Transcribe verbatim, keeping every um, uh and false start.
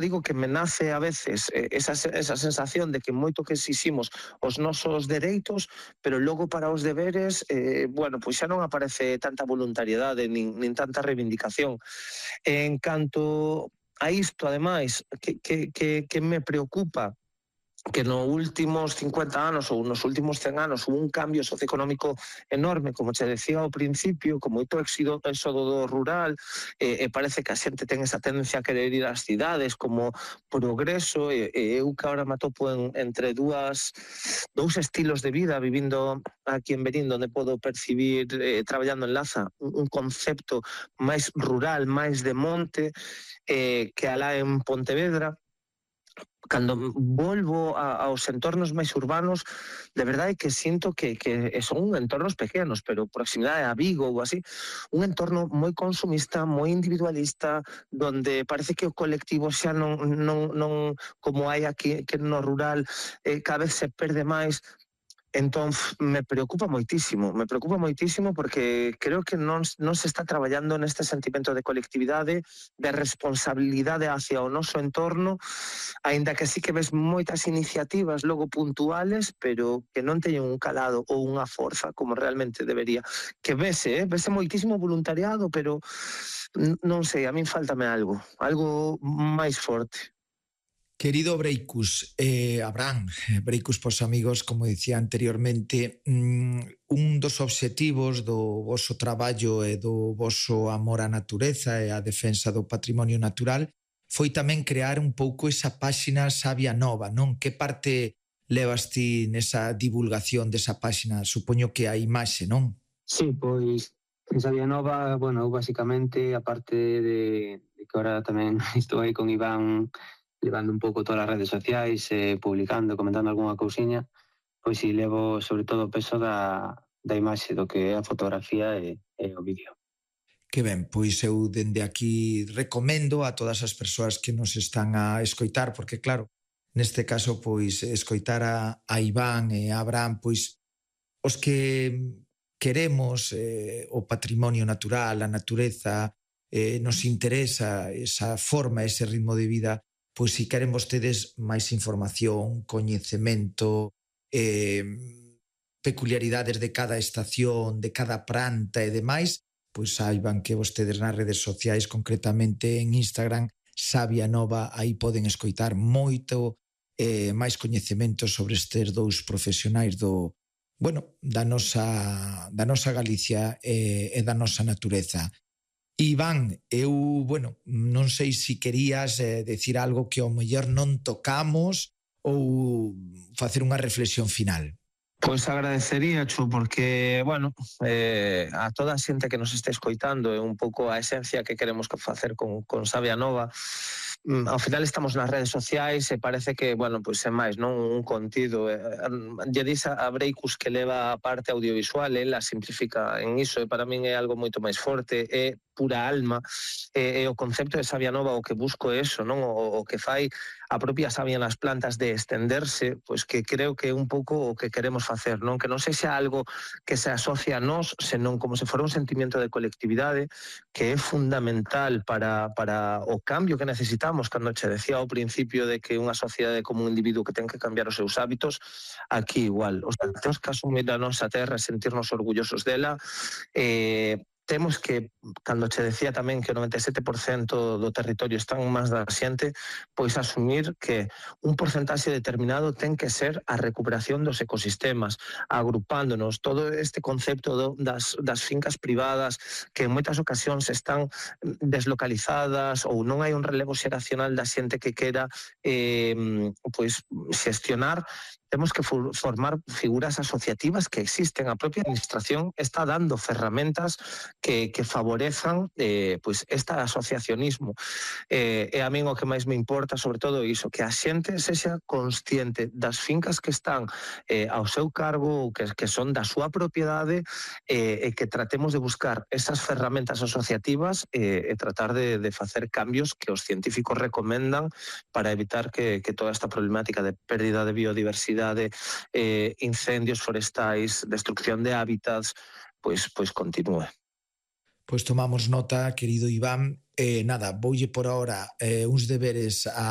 digo que me nace a veces eh, esa, esa sensación de que moito que exiximos os nosos dereitos, pero logo para os deberes, eh, bueno, pois xa non aparece tanta voluntariedade nin, nin tanta reivindicación. En canto a isto, ademais, que, que, que, que me preocupa, que nos últimos cincuenta anos ou nos últimos cen anos hubo un cambio socioeconómico enorme, como che decía ao principio, con moito éxodo, éxodo do rural, e, e parece que a xente ten esa tendencia a querer ir ás cidades como progreso, e, e eu que agora me atopo en, entre dúas, dous estilos de vida, vivindo aquí en Verín, onde podo percibir, eh, traballando en Laza, un, un concepto máis rural, máis de monte, eh, que alá en Pontevedra. Cando volvo a, aos entornos máis urbanos, de verdade que sinto que, que son entornos pequenos, pero proximidade a Vigo ou así, un entorno moi consumista, moi individualista, donde parece que o colectivo xa non, non, non como hai aquí que no rural, eh, cada vez se perde máis. Entón, me preocupa moitísimo, me preocupa moitísimo porque creo que non, non se está traballando neste sentimento de colectividade, de responsabilidade hacia o noso entorno, aínda que sí que ves moitas iniciativas logo puntuales, pero que non teñen un calado ou unha forza como realmente debería. Que vese, eh? vese moitísimo voluntariado, pero non sei, a min faltame algo, algo máis forte. Querido Breicus, eh, Abraham, Breicus pos amigos, como dicía anteriormente, mm, un dos obxectivos do voso traballo e do voso amor á natureza e á defensa do patrimonio natural foi tamén crear un pouco esa páxina Sabia Nova, non? Que parte levas ti nesa divulgación desa páxina? Supoño que a imaxe, non? Sí, pois en Sabia Nova, bueno, basicamente, aparte de, de que ahora tamén estou aí con Iván levando un pouco todas as redes sociais, eh, publicando, comentando algunha cousiña, pois si levo sobre todo o peso da, da imaxe do que é a fotografía e, e o vídeo. Que ben, pois eu dende aquí recomendo a todas as persoas que nos están a escoitar, porque claro, neste caso, pois, escoitar a, a Iván e a Abraham, pois, os que queremos eh, o patrimonio natural, a natureza, eh, nos interesa esa forma, ese ritmo de vida, pois si queren vostedes máis información, coñecemento, eh, peculiaridades de cada estación, de cada planta e demais, pois saiban que vostedes nas redes sociais, concretamente en Instagram, Sabia Nova, aí poden escoitar moito eh, máis coñecemento sobre estes dous profesionais do, bueno, da nosa, da nosa Galicia e, e da nosa natureza. Iván, eu, bueno, non sei se querías eh, decir algo que ao mellor non tocamos ou facer unha reflexión final. Pois agradecería, Chu, porque, bueno, eh, a toda a xente que nos este escoitando é un pouco a esencia que queremos facer con, con Sabia Nova. Mm, ao final estamos nas redes sociais e parece que, bueno, pois é máis, non? Un contido. Eh, lle dis a Breicus que leva a parte audiovisual, ela simplifica en iso, e para min é algo moito máis forte, é pura alma, e, e o concepto de Sabia Nova o que busco é eso, non? O, o que fai a propia sabia nas plantas de estenderse, pois que creo que é un pouco o que queremos facer, non? Que non sexa algo que se asocia a nós, senón como se fora un sentimento de colectividade que é fundamental para, para o cambio que necesitamos. Cando che decía ao principio de que unha sociedade como un individuo que ten que cambiar os seus hábitos, aquí igual. O sea, temos que asumir a nosa terra e sentirnos orgullosos dela. Eh, temos que, cando che decía tamén que o noventa e sete por cento do territorio está en mans da xente, pois asumir que un porcentaxe determinado ten que ser a recuperación dos ecosistemas, agrupándonos todo este concepto do, das, das fincas privadas que en moitas ocasións están deslocalizadas ou non hai un relevo xeracional da xente que quera eh, pois xestionar. Temos que formar figuras asociativas que existen. A propia administración está dando ferramentas que, que favorezan eh, pues este asociacionismo. Eh, e a min o que máis me importa, sobre todo, iso, que a xente sexa consciente das fincas que están eh, ao seu cargo ou que, que son da súa propiedade, eh, e que tratemos de buscar esas ferramentas asociativas eh, e tratar de, de facer cambios que os científicos recomendan para evitar que, que toda esta problemática de pérdida de biodiversidade, de eh, incendios forestais, destrucción de hábitats, pois, pois continúe. Pois tomamos nota, querido Iván. Eh, nada, voulle por ahora eh, uns deberes a